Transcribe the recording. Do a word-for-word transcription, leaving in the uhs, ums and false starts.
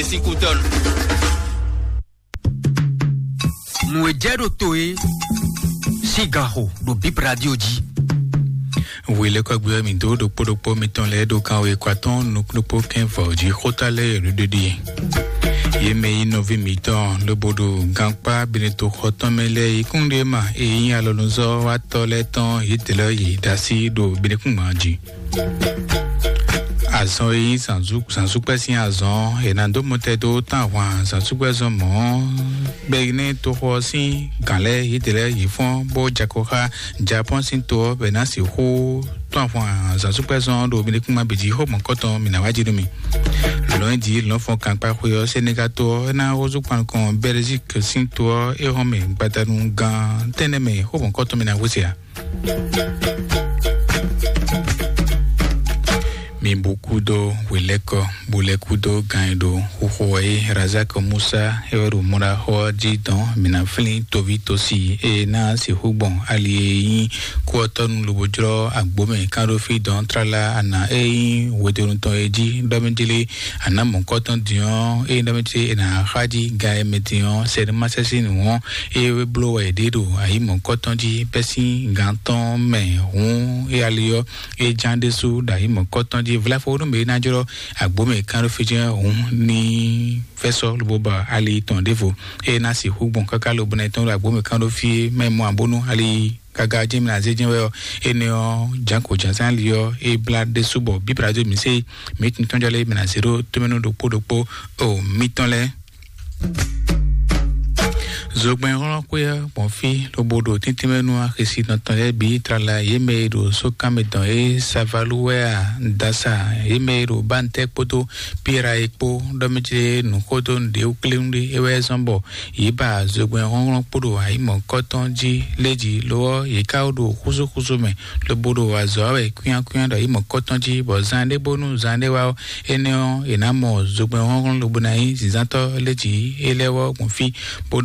Washington. Nǔ e jɛ ɖo to e sín gan xo ɖo Bip Radio jí. Wělɛ́kɔ́gbé ɔ́, mǐ dó ɖokpó ɖokpó mitɔn lɛ́ɛ ɖo kanwe kɔ atɔ́ɔ́n nukúnɖokpó kɛ́n vɔ̌ jí xóta lɛ́ɛ ɖo ɖiɖi. Yě mɛ yi nɔví mǐtɔn lobo ɖo gankpá Benetoxɔ tɔn mɛ lɛ́ɛ yi kúnɖéma e nyí alɔnuzɔ́watɔ́ lɛ́ɛ tɔn yědɛɛ lɛ́ɛ yi ɖo así ɖo Benekúngban jí. Azɔn e nyí zǎnzú-, zǎnzúkpɛ́ sín azɔn ɔ́, è nǎ dó mɔtɛn dó tán ahwan zǎnzúkpɛ́zɔn mɔ̌ ɔ́, bɔ é ná nyí toxo ɔ́ sín gǎn lɛ́ɛ yědɛɛ lɛ́ɛ yě fɔ́n bó jɛ akɔ xá Japɔ́ɔn sín to ɔ́, bɔ è nǎ sixú tún ahwan zǎnzúkpɛ́zɔn ɔ́ ɖo Benekúngban bǐ jí. Xó mɔ̌kɔtɔn mǐ ná wá jí nú mi. Lɔ̌nyijǐ lɔ̌nfɔn gankpá xwe ɔ́, Senegal to ɔ́ é ná hɔn zú kpankɔn Belgique sín to ɔ́ é hɔn mɛ gbadanu gan tɛ́nnɛ mɛ. Xó mɔ̌kɔtɔn mǐ ná hwesɛ ǎ. Mi bu kúdó hwelɛ́kɔ, bu lɛ́ kúdó gan e ɖo xuxo wɛ é. Razak Musa é wɛ ɖo mɔɖaxó ɔ́ jí dɔn. Mǐ ná flín toví tosi e ná sixú gbɔn ali e nyí kú ɔ́ tɔ́ nu lobo jlɔ́ agbǒ mɛ kánɖófí dɔn tlala ana e nyí hwedonu tɔn e jí ɖɔ mɛ jlé. Anǎ mɔ̌kɔtɔn din ɔ́, eye ɖɔ mɛ ce è nǎ xá jí ga e mɛ din ɔ́, sɛnɛmasɛ́sí nǔ ɔ́, eye é bló wɛ è ɖe ɖo ayǐ mɔ̌kɔtɔn jí bɛ́ sín gan tɔn mɛ. Hǔn é ali ɔ́, é ján ɖésú ɖo ayǐ mɔ̌kɔtɔn jí. Vlafo nú mɛ e ná jlɔ́ agbǒ mɛ kán ɖó fí jɛ́n hǔn ní fɛ́ sɔ́ lobo ba ali tɔn ɖěvo. Eye ná sixú gbɔn káká lobo ná tɔn ɖo agbǒ mɛ kán ɖó fí é, mɛ mɔ abónú ali gaga jɛ́n mi ná zé jɛ́n wɛ ɔ́, énɛ́ ɔ́, jǎnko jǎnzán li ɔ́, é blá ɖésú bɔ bíblá dó mǐ sé mǐ tun tɔ́n jɔ lɛ́ɛ mǐ ná zé ɖó tómɛnú ɖokpó ɖokpó o mitɔn lɛ́ɛ. Zogbɛ́nhlɔ́nxwé ɔ́ gbɔn fí lobo ɖo tɛ́ntin mɛ nú axisi tɔn tɔn lɛ́ɛ bǐ tlala, yě mɛ e ɖo sókanmɛ tɔn e Savalu wɛ a, Dasa, yě mɛ e ɖo Bantɛ kpódó Pira e kpó, ɖɔ mɛ ce nǔ xó dó nǔɖé wú kléwún ɖé, é wɛ zɔ́n bɔ yě ba zogbɛ́n hlɔ́nhlɔ́n kpo ɖo ayǐmɔ̌kɔ́tɔn jí lé jí, lo ɔ́, yě ká wó ɖo xúzúxúzú mɛ, lobo ɖo azɔ̌ wa wɛ kwíánkwíán ɖo ayǐmɔ̌kɔ́tɔn jí, bɔ zan ɖé bónú zan ɖé wá ɔ́, énɛ́ ɔ́, è nǎ mɔ zogbɛ́n hlɔ́nhlɔ́n lobo ná nyí zǐnzántɔ́ lé jí é lɛ́ wɔ gbɔn fí, bó